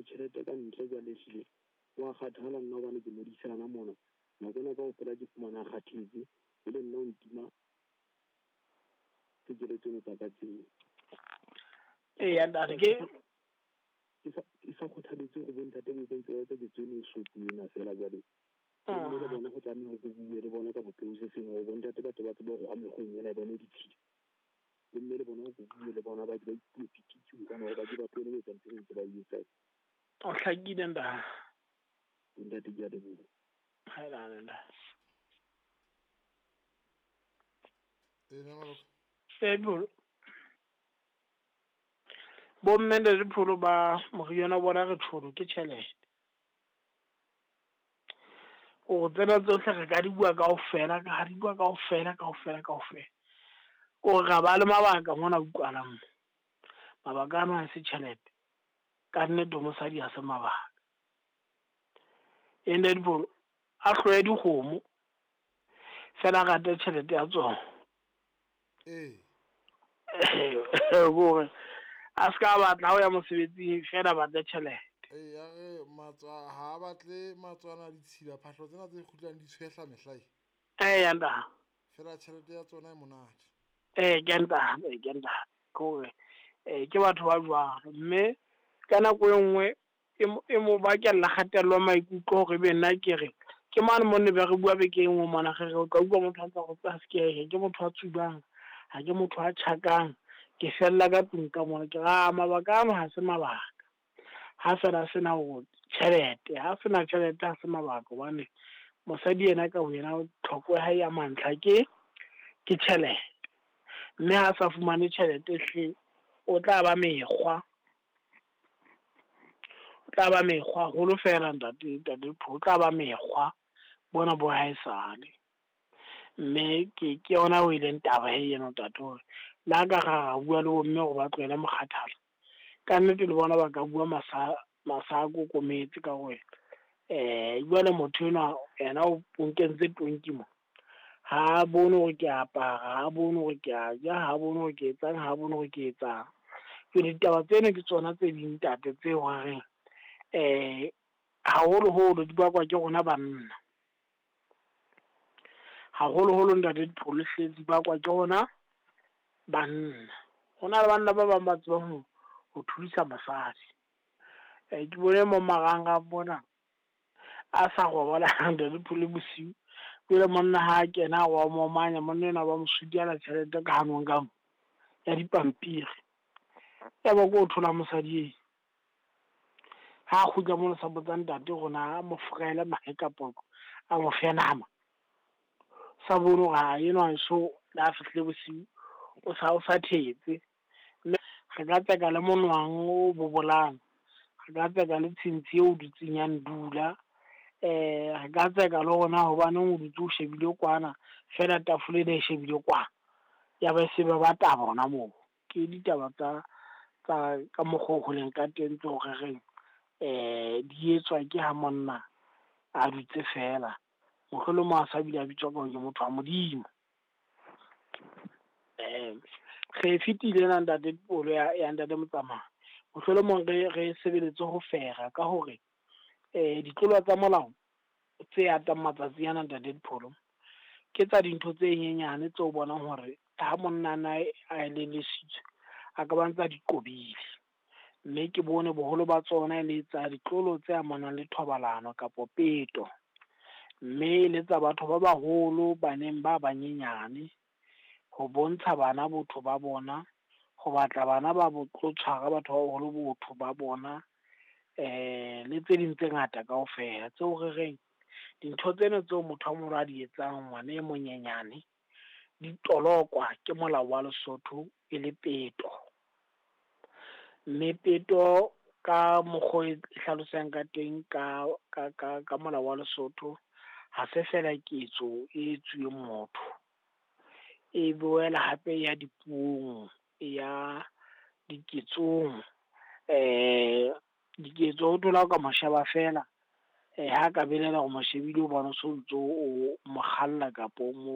Jwale tjhelete ka ntle jwale ehlile wa kgathala nna hobane ke modisana mona. Nako ena kaofela ke fumana a kgathetse, e le nna o ntima tshekeletso tseno tsa ka tseo. Eya ntate ke Ke sa kgothaletse hore bo ntate bo ntse ba etsa ketso eno e soto ena feela jwale. Mme le bona go tlameha go bue le bona ka bopeo se sengwe hore bo ntate ba tle ba tsebe hore mekgweng ena e bone ditshila. Bomme le bona go bue le bona ba ke ba ipue pititsi kana hore ba ke ba tlohele ho etsa ntho eo ntse ba e etsang. O hlakile ntate. Bo ntate ke a leboha. Haelane ntate. E na maloka. Ee Pholo. Bomme ntate Pholo ba moriana wa bona re tjholo ke tjhelete. O tsena tsohle re ka di bua kaofela, ka di bua kaofela kaofela kaofela. Ko ra ba le mabaka mona utlwalang mo. Mabaka ano ha se tjhelete. Ka nnete ho mosadi ha se mabaka. E ntate Pholo a hloye dikgomo fela a rate tjhelete ya tsona. Ee. Kore a ska batla ha o ya mosebetsing fela batle tjhelete. Ee, ya re matswa ha a batle matswana ditshila phahlo tsena tse kgutlang di tshwehla mehlae. Eya ntate. Fela tjhelete ya tsona e monate. Ee ke ntate, ke ntate. Ke hore ke batho ba jwalo mme ka nako e nngwe e mo bakella kgatello ya maikutlo hore ebe nna ke re ke mane mo ne be re bua beke e nngwe mona re re o tla utlwa motho a ntsa go tsa se ke motho a tsubang, ha ke motho a tjhakang, ke fella ka tlung ka mona. Ke re a mabaka ano ha se mabaka. Ha fela sena hore tjhelete, ha sena tjhelete ha se mabaka hobane mosadi yena ka boyena tlhoko ya hae ya mantlha ke tjhelete. Mme ha sa fumane tjhelete hle o tla ba mekgwa. O tla ba mekgwa haholo fela ntate o tla ba mekgwa bona bo haesale. Mme ke yona o e leng taba he eno ntate hore le ha ka ra bua le bomme hore ba tlohele mokgathala. Ka nnete le bona ba ka bua masa a kokometse ka hore jwale motho enwa yena o nkentse tonki mo. Ha bone hore ke apara, ha bone hore ke a ja, ha bone hore ke etsang, ha bone hore ke etsang. Jwale ditaba tseno ke tsona tse ding ntate tseo re reng haholoholo di bakwa ke rona banna. Haholoholo ntate Dipholo hle di bakwa ke rona banna. Ho na le banna ba bang ba tsebang ho thudisa mosadi. Ke bone mo marangrang mona a sa robala ntate Dipholo bosiu. Jwale monna ha kena wa momanya monna enwa ba mo sutiela tjhelete ka hanong ka mo ya dipampiri. Ya ba ko thola mosadi e. Ha kgutla mona sa botsa ntate hore na mo fraele mahe kapa a mo fe nama. Sa bone hore ha enwa so le ha fihlile bosiu o sa thetse. Mme re ka tseka le monwang o bobolang, re ka tseka le tshintshi eo dutseng ya ndula, re ka tseka le hore na hobaneng o dutse o shebile kwana fela tafole ena e shebile kwana. Ya ba se ba taba hona moo. Ke ditaba tsa ka mokgwa o holeng ka teng tseo re reng di etswa ke ha monna a dutse fela. Mohlolomong a sa bile a bitswa ka hore ke motho wa Modimo. Re fetile ena ntate Dipholo ya ntate Motsamai. Mohlolomong re sebeletse ho fera ka hore ditlolo tsa molao tse atang matsatsi ana ntate Dipholo ke tsa dintho tse nyenyane tseo bonang hore ha monna na a elellisitswe a ka ba ntsa di qobile. Mme ke bone boholo ba tsona e le tsa ditlolo tse amanang le thobalano kapa peto. Mme le tsa batho ba baholo baneng ba banyenyane ho bontsha bana botho ba bona, ho batla bana ba bo tlo tshwara batho ba baholo botho ba bona, le tse ding tse ngata kaofela. Tseo re reng dintho tsena tseo motho a moholo a di etsang ngwana e monyenyane di tolokwa ke molao wa Lesotho e le peto. Mme peto ka mokgwa e hlalosang ka teng ka molao wa Lesotho ha se fela ketso e etsuweng motho. E boela hape ya dipuong, ya diketsong. Diketso o thola ka mo sheba fela, ha ka belaela hore mo shebile o bona o so ntso o mo kgalla kapa o mo